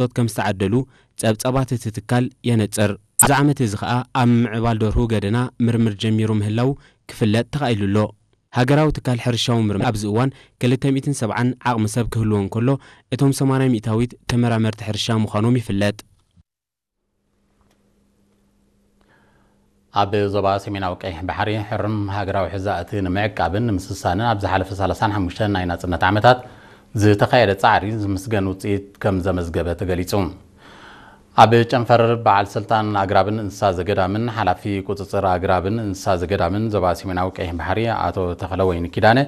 ቶት ከም ዝተዓደሉ ጸብጻባት እቲ ትካል የነጽር። ኣብዚ ዓመት እዚ ከኣ ኣብ ምምዕባል ደርሁ ገደና ምርምር ጀሚሩ ምህላው ክፍለጥ ተኻኢሉ ኣሎ። ሃገራዊ ትካል ሕርሻዊ ምርምር ኣብዚ እዋን ክልተ ሚእትን ሰብዓን ዓቕሚ ሰብ ክህልዎ እንከሎ፣ እቶም ሰማንያ ሚእታዊት ተመራመርቲ ሕርሻ ምዃኖም ይፍለጥ። ኣብ ዞባ ሰሜናዊ ቀይሕ ባሕሪ ሕሩም ሃገራዊ ሕዛእቲ ንምዕቃብን ንምስሳንን ኣብ ዝሓለፈ ሰላሳን ሓሙሽተን ናይ ናጽነት ዓመታት ዝተኻየደ ጻዕሪ ዝምስገን ውጽኢት ከም ዘመዝገበ ተገሊጹ። ኣብ ጨንፈር በዓል ስልጣን ኣግራብን እንስሳ ዘገዳምን ሓላፊ ቁጽጽር ኣግራብን እንስሳ ዘገዳምን ዞባ ሰሜናዊ ቀይሕ ባሕሪ ኣቶ ተኽለወይኒ ኪዳነ፣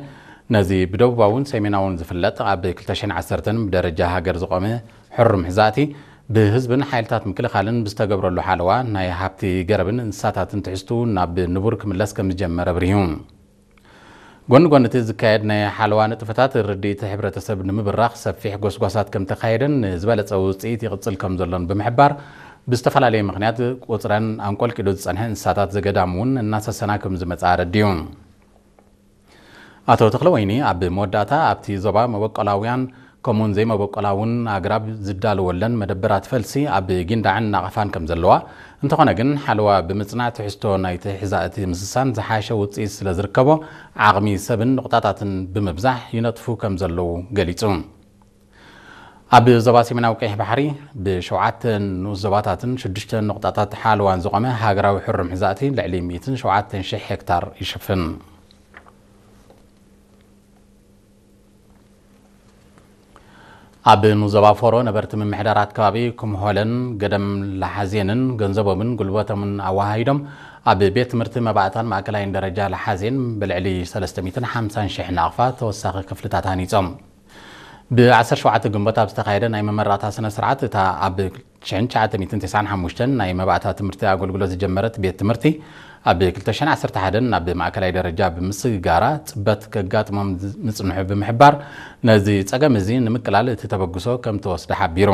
ነዚ ብደቡባውን ሰሜናውን ዝፍለጥ ኣብ ክልተ ሽሕን ዓሰርተን ብደረጃ ሃገር ዝቖመ ሕሩም ሕዛእቲ ብህዝብን ሓይልታት ምክልኻልን ብዝተገብረሉ ሓለዋ ናይ ሃብቲ ገረብን እንስሳታትን ትሕዝቱ ናብ ንቡር ክምለስ ከም ዝጀመረ ኣብሪሁ። ጎኒ ጎኒ እቲ ዝካየድ ናይ ሓለዋ ንጥፈታት ርድኢት ሕብረተሰብ ንምብራኽ ሰፊሕ ጎስጓሳት ከም ተኻየደን ዝበለጸ ውጽኢት ይቕጽል ከም ዘሎን ብምሕባር፣ ብዝተፈላለየ ምኽንያት ቁጽረን ኣንቆልቂሉ ዝጸንሐ እንስሳታት ዘገዳም እውን እናሰሰና ከም ዝመጽኣ ኣረዲኡ። ኣቶ ተኽለወይኒ ኣብ መወዳእታ ኣብቲ ዞባ መበቆላውያን ከምኡውን ዘይመበቆላውን ኣግራብ ዝዳለወለን መደበራት ፈልሲ ኣብ ጊንዳዕን ናቕፋን ከም ዘለዋ፣ እንተኾነ ግን ሓለዋ ብምጽናዕ ትሕዝቶ ናይቲ ሕዛእቲ ምስሳን ዝሓሸ ውጽኢት ስለ ዝርከቦ ዓቕሚ ሰብን ንቑጣታትን ብምብዛሕ ይነጥፉ ከም ዘለዉ ገሊጹ። ኣብ ዞባ ሰሜናዊ ቀይሕ ባሕሪ ብሸውዓተ ንኡስ ዞባታትን ሽዱሽተ ንቑጣታት ሓለዋን ዝቖመ ሃገራዊ ሕሩም ሕዛእቲ ልዕሊ ሚእትን ሸውዓተን ሽሕ ሄክታር ይሽፍን። ኣብ ንኡስ ዞባ ፎሮ ነበርቲ ምምሕዳራት ከባቢ ኩምሆለን ገደም ለሓዜንን ገንዘቦምን ጉልበቶምን ኣወሃሂዶም ኣብ ቤት ትምህርቲ መባእታን ማእከላይን ደረጃ ለሓዜን ብልዕሊ ሰለስተ ሚእትን ሓምሳን ሽሕ ናቕፋ ተወሳኺ ክፍልታት ሃኒጾም። ብ ዓሰርተ ሸውዓተ ግንቦት ኣብ ዝተኻየደ ናይ መመረቕታ ስነ ስርዓት፣ እታ ኣብ ሽሕን ትሽዓተ ሚእትን ተስዓን ሓሙሽተን ናይ መባእታ ትምህርቲ ኣገልግሎት ዝጀመረት ቤት ትምህርቲ፣ ኣብ ክልተ ሽሕን ዓሰርተ ሓደን ናብ ማእከላይ ደረጃ ብምስግጋራ ጽበት ከጋጥሞም ዝ-፣ ምጽንሑ ብምሕባር፣ ነዚ ጸገም እዚ ንምቅላል እቲ ተበግሶ ከም ተወስደ ሓቢሩ።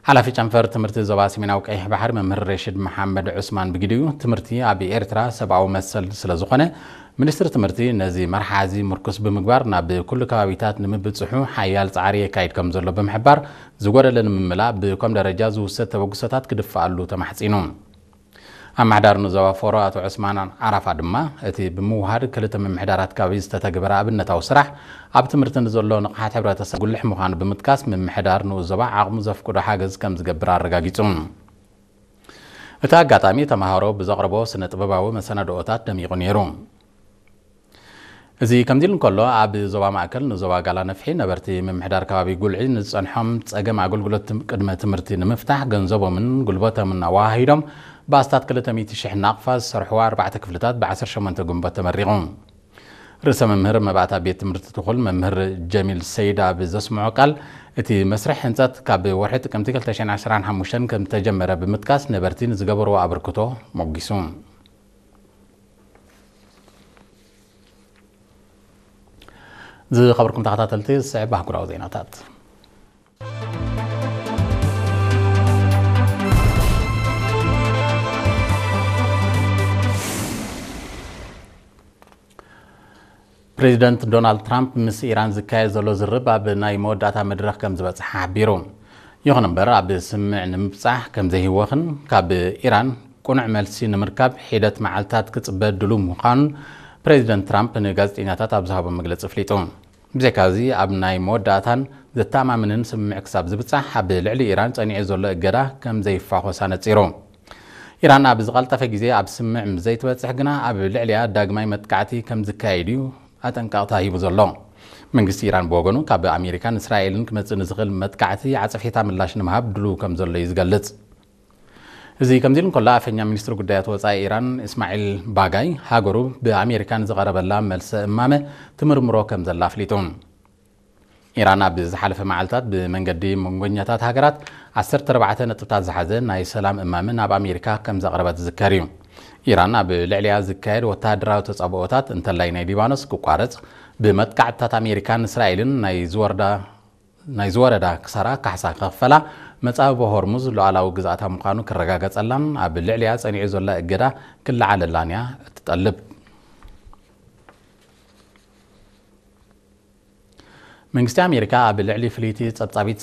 ሓላፊ ጨንፈር ትምህርቲ ዞባ ሰሜናዊ ቀይሕ ባሕሪ መምህር ሬሽድ መሓመድ ዑስማን ብግዲኡ፣ ትምህርቲ ኣብ ኤርትራ ሰብኣዊ መሰል ስለ ዝኾነ፣ ሚኒስትሪ ትምህርቲ ነዚ መርሓ እዚ ምርኩስ ብምግባር ናብ ኩሉ ከባቢታት ንምብጽሑ ሓያል ጻዕሪ የካይድ ከም ዘሎ ብምሕባር፣ ዝጎደለ ንምምላእ ብኮም ደረጃ ዝውሰድ ተበግሶታት ክድፍኣሉ ተማሕጺኑ። ኣመሓዳሪ ንዞባ ፎሮ ኣቶ ዑስማን ዓራፋ ድማ፣ እቲ ብምውሃድ ክልተ ምምሕዳራት ከባቢ ዝተተግበረ ኣብነታዊ ስራሕ፣ ኣብ ትምህርቲ ንዘሎ ንቕሓት ሕብረተሰብ ጉልሕ ምዃኑ ብምጥቃስ፣ ምምሕዳር ንኡስ ዞባ ዓቕሙ ዘፍቅዶ ሓገዝ ከም ዝገብር ኣረጋጊጹ። እቲ ኣጋጣሚ ተመሃሮ ብዘቕረቦ ስነ ጥበባዊ መሰናድኦታት ደሚቑ ነይሩ። እዚ ከምዚ ኢሉ እንከሎ፣ ኣብ ዞባ ማእከል ንዞባ ጋላ ነፍሒ ነበርቲ ምምሕዳር ከባቢ ጉልዒ ንዝጸንሖም ጸገም ኣገልግሎት ትም-፣ ቅድመ ትምህርቲ ንምፍታሕ ገንዘቦምን ጉልበቶምን ኣወሃሂዶም ብኣስታት ክልተ ሚእቲ ሽሕ ናቕፋ ዝሰርሕዋ ኣርባዕተ ክፍልታት ብ ዓሰርተ ሸሞንተ ግንቦት ተመሪቑ። ርእሰ መምህር መባእታ ቤት ትምህርቲ ትኹል መምህር ጀሚል ሰይድ ኣብ ዘስምዖ ቃል፣ እቲ መስርሕ ህንጸት ካብ ወርሒ ጥቅምቲ ክልተ ሽሕን ዓሰርተ ሓሙሽተን ከም ዝተጀመረ ብምጥቃስ፣ ነበርቲ ንዝገበርዎ ኣበርክቶ ሞጊሱ። ዝኸበርኩም ተኸታተልቲ፣ ዝስዕብ ኣህጉራዊ ዜናታት። ፕሬዚደንት ዶናልድ ትራምፕ ምስ ኢራን ዝካየድ ዘሎ ዝርርብ ኣብ ናይ መወዳእታ መድረኽ ከም ዝበጽሐ ሓቢሩ። ይኹን እምበር፣ ኣብ ስምምዕ ንምብጻሕ ከም ዘይህወኽን ካብ ኢራን ቅኑዕ መልሲ ንምርካብ ሒደት መዓልታት ክጽበ ድሉው ምዃኑን ፕሬዚደንት ትራምፕ ንጋዜጠኛታት ኣብ ዝሃቦ መግለጺ ኣፍሊጡ። ብዘይካዚ፣ ኣብ ናይ መወዳእታን ዘተኣማምንን ስምምዕ ክሳብ ዝብጻሕ፣ ኣብ ልዕሊ ኢራን ጸኒዑ ዘሎ እገዳ ከም ዘይፋኾስ ኣነጺሩ። ኢራን ኣብ ዝቐልጠፈ ግዜ ኣብ ስምምዕ ምስ ዘይትበጽሕ ግና፣ ኣብ ልዕሊኣ ዳግማይ መጥቃዕቲ ከም ዝካየድ እዩ ኣጠንቀቕታ ሂቡ ዘሎ። መንግስቲ ኢራን ብወገኑ፣ ካብ ኣሜሪካን እስራኤልን ክመጽእ ንዝኽእል መጥቃዕቲ ዓጸፌታ ምላሽ ንምሃብ ድሉው ከም ዘሎ እዩ ዝገልጽ። እዚ ከምዚ ኢሉ እንከሎ፣ ኣፈኛ ሚኒስትሪ ጉዳያት ወጻኢ ኢራን እስማዒል ባጋይ፣ ሃገሩ ብኣሜሪካ ንዝቐረበላ መልሰ እማመ ትምርምሮ ከም ዘላ ኣፍሊጡ። ኢራን ኣብ ዝሓለፈ መዓልታት ብመንገዲ መንጎኛታት ሃገራት ዓሰርተ ኣርባዕተ ነጥብታት ዝሓዘ ናይ ሰላም እማመ ናብ ኣሜሪካ ከም ዘቕረበት ዝዝከር እዩ። ኢራን ኣብ ልዕሊኣ ዝካየድ ወተሃደራዊ ተጻብኦታት፣ እንተላይ ናይ ሊባኖስ፣ ክቋረጽ፣ ብመጥቃዕትታት ኣሜሪካን እስራኤልን ናይ ዝወርዳ ናይ ዝወረዳ ክሳራ ካሕሳ ክኽፈላ፣ መጻብቦ ሆርሙዝ ሉዓላዊ ግዝኣታ ምዃኑ ክረጋገጸላን ኣብ ልዕሊኣ ጸኒዑ ዘሎ እገዳ ክለዓለላን እያ እትጠልብ። መንግስቲ ኣሜሪካ ኣብ ልዕሊ ፍልይቲ ጸብጻቢት